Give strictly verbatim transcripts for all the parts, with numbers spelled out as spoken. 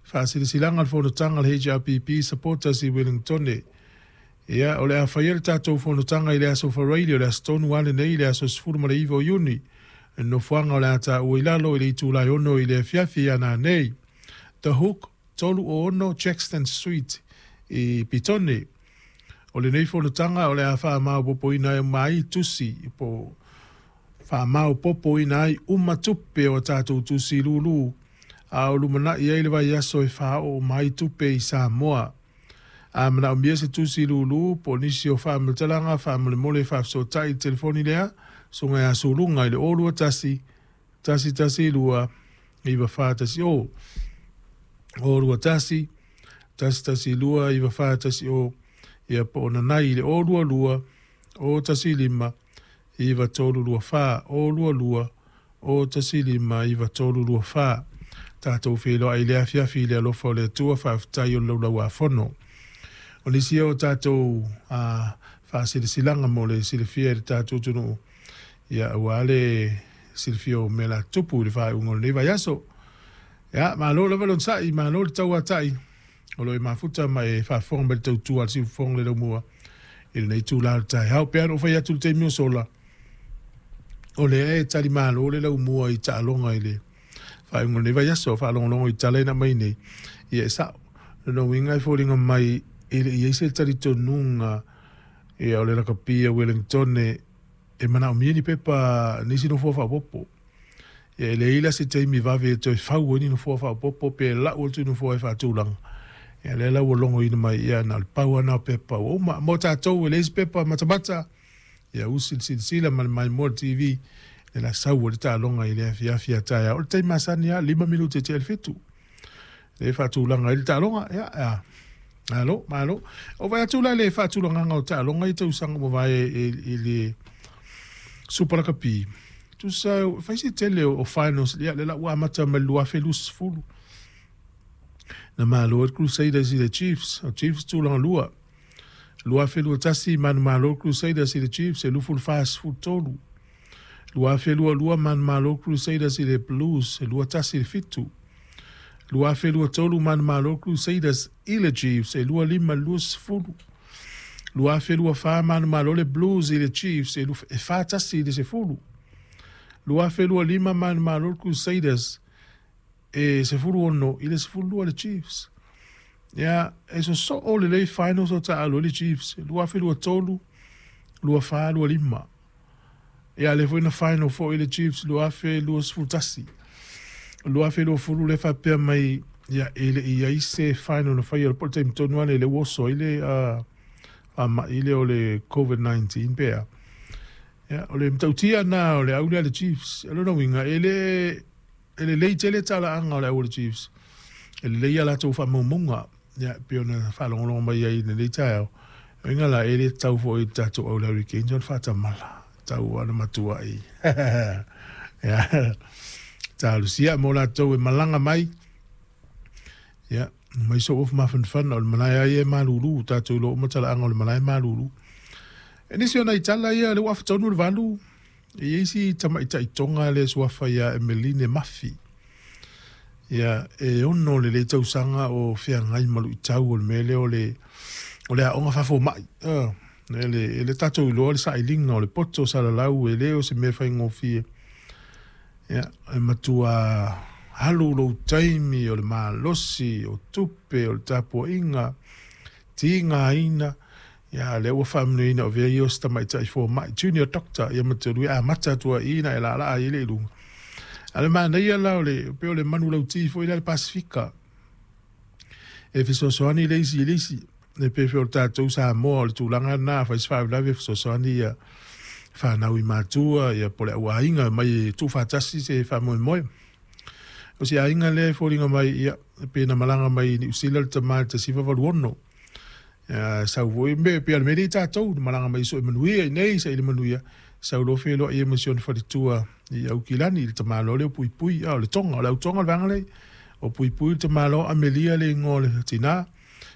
Faasilasilaga o le fonotaga a le H R P P Supporters i Wellingtone. Ia, o le a faia le tatou fonotaga i le aso Faraile, o le aso tonu lava lenei, le aso sefulu ma le iva o Iuni. E nofoaga o le a taua i lalo i le itula e ono i le afiafi ia nanei. The Hook, tolu o ono Jackson Street i Petone. O lenei fonotaga o le a faamaopoopoina ai uma ai tusi po faamaopoopoina ai uma tupe o tatou tusi lulu a o lumanai ai le vaiaso e faaoo mai tupe i Samoa. A manaomia se tusi lulu po o nisi o faamatalaga faamolemole faafesootai i le telefoni lea susuga ia Suluga i le o lua tasi, tasi tasi lua, iva fa tasi o. o lua tasi, tasi tasi lua, iva fa tasi o. Ia po o nanai i le o lua lua, o tasi lima, iva tolu lua fa, o lua lua, o tasi lima, iva tolu lua fa. Tatou feiloai i le afiafi i le alofa o le Atua, faafetai o le laulauafono. O nisi o tatou faasilasilaga mo le silafia i le tatou atunuu, ia aua le silafia o mea la tupu i le faaiuga o lenei vaiaso. Ia, malo lava le onosai, malo le tauatai, o lo o mafuta ma e faafofoga mai le tautua a le siufofoga le laumua i lenei itula o le taeao. Pe ana ou fai atu i le taimi o sola, o lea e talimalo le laumua i taaloga i le faaiuga o lenei vaiaso, faalogologo i tala ina mai nei, ia e sao. Lona uiga e foliga mai e le i ai se talitonuga ia o le lakapi a Wellingtone e manaomia ni pepa nisi nofoa faaopoopo. Ia e leai la se taimi vave e toe fau ai ni nofoa faaopoopo pe lau atu nofoa e faatulaga. Ia lea la ua logoina mai ia na o le pau lava na o pepa ua uma. Mo tatou e leai se pepa matamata, ia usi le silasila ma le maimoa le T V, le la sau o le taaloga i le afiafi a taeao. O le taimi masani lava, lima minute e tea i le fitu. Le faatulaga ai le taaloga, ia, ia. Malo, malo. O vai atu la le faatulagaga o taaloga i tausaga ua mavae i le Super Lakapi. Tusa, fai se tele o finals, ia, le la ua amata mai le lua afe luasefulu. Na malo ai le Crusaders i le Chiefs, o Chiefs tulaga lua. Lua afe lua tasi, manumalo Crusaders i le Chiefs, e lufu le fa sefulu tolu. Lua afe lua lua, manumalo Crusaders i le Blues, e lua tasi i le fitu. Lua afe lua tolu, manumalo Crusaders i le Chiefs, e lua lima lua sefulu. Lua afe lua fa, manumalo le Blues i le Chiefs, e, e fa tasi i le sefulu. Lua afe lua lima, manumalo Crusaders, e sefulu ono i le sefulu lua le Chiefs. Ia, e sosoo lelei finals o taalo i le Chiefs, lua afe lua tolu, lua fa, lua lima. Ia, le foi na final foi le Chiefs, lua afe lua sefulu tasi. Lua afe lua fulu le faapea mai, ia, e le i ai se final na faia o le po o le taimi tonu lava le ua oso ai le faamai lea o le COVID nineteen pea. Ia, o le matautia na o le au lea le Chiefs. O lona uiga, e le e lelei tele talaaga o le au o le Chiefs. E lelei a latou faamaumauga. Ia, pei ona faalogologo mai ai i lenei taeao. O uiga la, e le tatau foi i le tatou au le Hurricanes ona faatamala. Tau ana matua i. Ia, talosia mo latou e malaga mai. Ia, mai so ofu mafanafana o le malae ai e malulu, tatou iloa uma talaaga o le malae malulu. E nisi o nai tala ia le ua afatonu le valu. E i ai si tamaitaitoga le suafa ia Emeline Mafi. Ia, e ono le le tausaga o feagai ma luitau o le mea lea o le o le aoga faafomai. Uh, e le, e le tatou iloa le sailiga o le poto salalau e le o se mea faigofie. Ia, e matua alu lou taimi o le malosi, o tupe, o le tapuaiga, tigaina. Ia, lea ua faamanuiaina o vea ia o se tamaitai fomai, junior doctor, ia matua amata atu ai na e laalaa ai le i luga. A le manaia la o le, pe o le manulauti foi la le Pasifika. E fesoasoani le isi i le isi. E pe fe o le tatou Samoa o le tulaga na fai se faalavelave fesoasoani ia whanau i matua, ia po le au aiga mai e tuufaatasi se faamoemoe. O se aiga lea e foliga mai, ia, pe na malaga mai Niu Sila le tama i le tasi iva valu ono. Ia, sau foi me, pe o le mea lea i tatou, na malaga mai soe manuia i nei, sa i le manuia, sau loa feloai ia ma si ona faletua i Aukilani, i le tamaloa lea o Puipui, a o le Tonga, o le autonga o le vaega lea, o Puipui le tamaloa Amelia le igoa o le tina,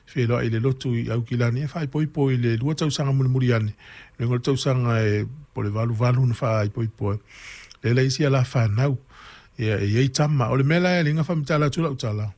feloai i le lotu i Aukilani, e faaipoipo i le lua tausaga mulimuli ane, le igoa o le tausaga e po o le valu valu na faaipoipo ai. Le la isi ala whanau, ia, e iai tama. O le mea la e linga whamitala atu lau tala.